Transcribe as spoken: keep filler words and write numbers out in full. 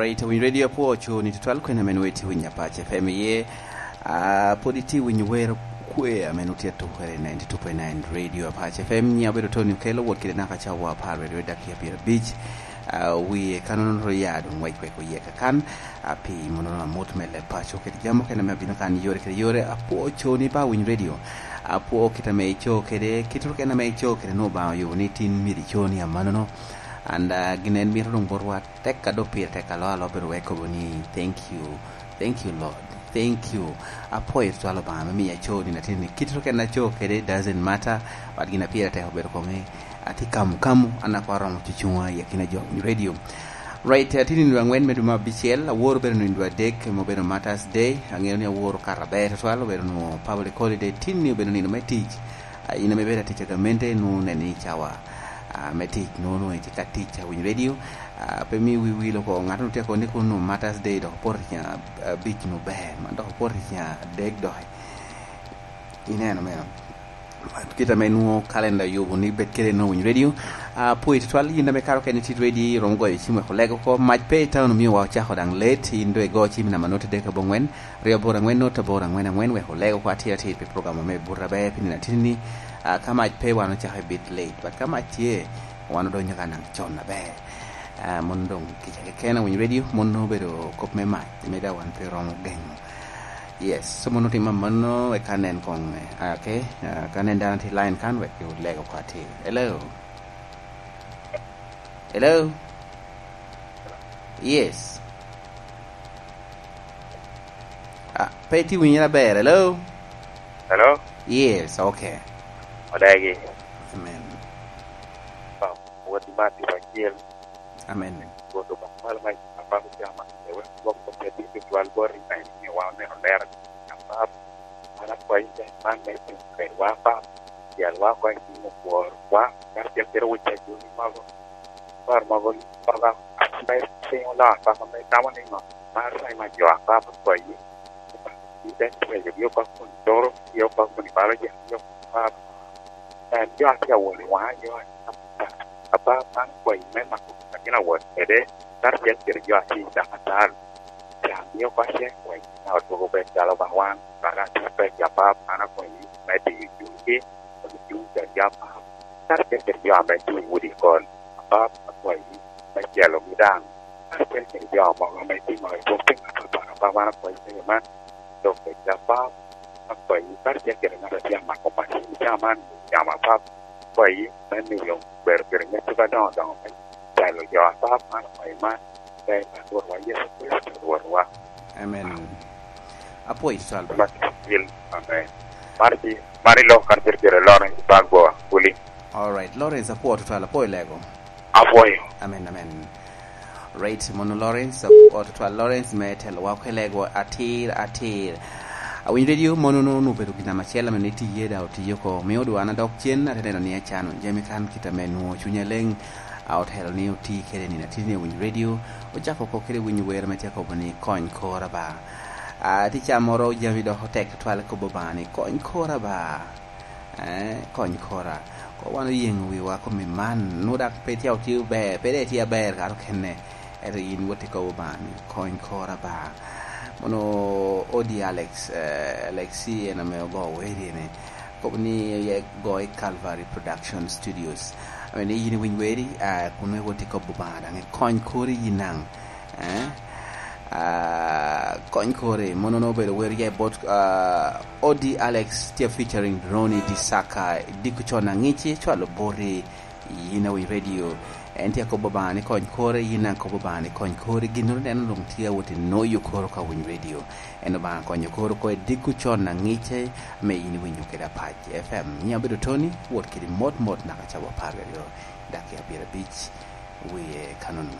Ito winy radio apwo ocoo ni tutwal kwena men weti winy Apac F M iye. Ah, pwod iti winy wer kwe amen woti atukere ninety two point nine Radio Apac F M. Nya obedo Tony Okello, wot kede naka cawa apar weri weri dakika pyerabic. Ah, wie kanono ro ya dong wek wek oye kakan. Ah, pi mono amut me leb paco kede jamo kene me abino kan yore kede yore. Apwo ocoo ni ba winy radio. Apwo kit ame icoo kede, kit ro kene ame icoo kede no ba oyo ni tin myero icoo ni amanono. And, ah, gin en mito dong botwa tek a dok pire tek alo alo bedo wek kobo ni, "Thank you, thank you, Lord, thank you." Apwoyo twal Obaŋa me miya co ni natin ni kit ro kena co kede doesn't matter, but gin a pire tek obedo koŋe. Ati kamu kamu, an akwaro romo cucuŋa i akina jo winy radio. Right, ati nindo angwen me duma abicel, aworo bedo nindo adek, me obedo Martyrs Day. Aŋeo ni aworo kara ber twal, obedo nu public holiday, tin ni obedo nindo me tic. Ah, in ame bedo atic a gamente, nu neni cawa, ah, me tic, nu nu itye ka tic a winy radio. Ah, pe mi wi wil oko, ŋat nu tye kono ni kun nu Martyrs Day dok opoto i ceng abic nu ber, man dok opoto i ceng adek dok. Ineno meno. Kit ame nwoŋo kalenda oyubo ni bed kede nwoŋo winy radio. Ah, pwod tutwal, yin ame karo kene tit radio, iromo goyo cim wek oleg oko. Mac pe i town omio wa ocako daŋ let, in do igo cim namba noti dek abongwen, ryo aboro angwen noti aboro angwen angwen, wek oleg oko atir atir pi program ame buto aber pi nino atini ni. Ah, ka mac pe wan ocako i bit late, but ka mac tye, wan odonyo ka naŋ con aber. Ah, mon doŋ kica keken a winy radio, mon doŋ obedo kop me mac, me da wan pe romo geŋo. Yes, so mon otimo amanno, eka nen koŋ, ah, okay, ah, ka nen dano tye line kan, wek oleg oko atir. Hello? Hello? Yes. Ah, pe itye winyere aber. Hello? Hello? Yes, okay. Odagi. Amen. Wot i mat i acel. Amen. Wot i mat i acel. Wek gwok kop me tito twal bot i ŋai ni wan oneno lero. Apap, an akwayi tek man me timo kedwa, Apap. Tyelwa oko i tim okworwa, karacel kede wec a Joni mogo. Par mogo, Apap, ame piny oloo, Apap, ame tamo niŋo? Mar time a jo, Apap, akwayi. Ite reco gi oko kun toro, gi oko kun balo jo, jo, Apap. En jo a tye awot i waŋa, jo a tye ka, Apap, man akwayi me mako akina wot kede, karacel kede jo a tye i dakatari. Can mio kacce, wek ka odwogo bed calo ba wan, kara tye pek, Apap, an akwayi me diyo cunygi, kun cuny kede jo, Apap. Karacel kede jo ame tye i udi kol, Apap, akwayi me celogi daŋ. Karacel kede jo mogo ame tye ŋo i buk piny apapat, Apap, an akwayi me man, dok kede, Apap, akwayi, karacel kede ŋat a tye amako macin i cawa man, i cawa, Apap, akwayi me miyo bedo kede ŋeco ka doŋo doŋo me telo jo, Apap, man akwayi man, ber pa Rwotwa Yecu Kricito, Rwotwa. Amen. Apwoyo, Salva. Amen. Mano tye, mano iloko kan cito cito Lawrence Bagbo, Kuli. All right, Lawrence, apwoyo tutwal, apwoyo lego. Apwoyo. Amen, amen. Right, mono Lawrence, apwoyo tutwal Lawrence, me telowa oko i lego atir, atir. Awinyo radio, mono no, no obedo gin ame acel ame ni tiye da otiyo oko. Mio dwa an adok cen, ate neno ni acano jami kan kit ame nwoŋo cunya leŋ, a otelo ni oti kede nino atini ni Winyo Radio, ocako oko kede winyo wer ame tye akobo ni, "Kony kora ba." Ah, ticca moro jami dok otek tutwal, kobo ba ni, "Kony kora ba." Eh, kony kora. Ko wan oyeŋo wiwa kome man, nwoŋo dak pe tye otye ber, pe de tye aber kara okene. Ento yin wot ikobo ba ni, "Kony kora ba." Mono odi Alex, eh, Alexi en ame ogo weri ene. Kobo ni oye go i Calvary Production Studios. Ame ni yin iwiny weri, ah, kun wek wot ikobo ba daŋ ikony kori yin daŋ. Eh? Ah, kony kori, mono no obedo wer ya i bot, ah, Odi Alex tye featuring Ronnie Disaka, diko con aŋici, cwalo boti, yin awiny radio. En tye akobo ba ni kony kori, yin daŋ kobo ba ni kony kori, gin noro neno dong tye awot i noyo koro ka winy radio. En Obaŋa konyo koro ko i diko con aŋici, me yin winyo kede Apac F M. Nya obedo Tony, wot kede mot mot naka cawa apar aryo, dakika pyerabic, wie kanono.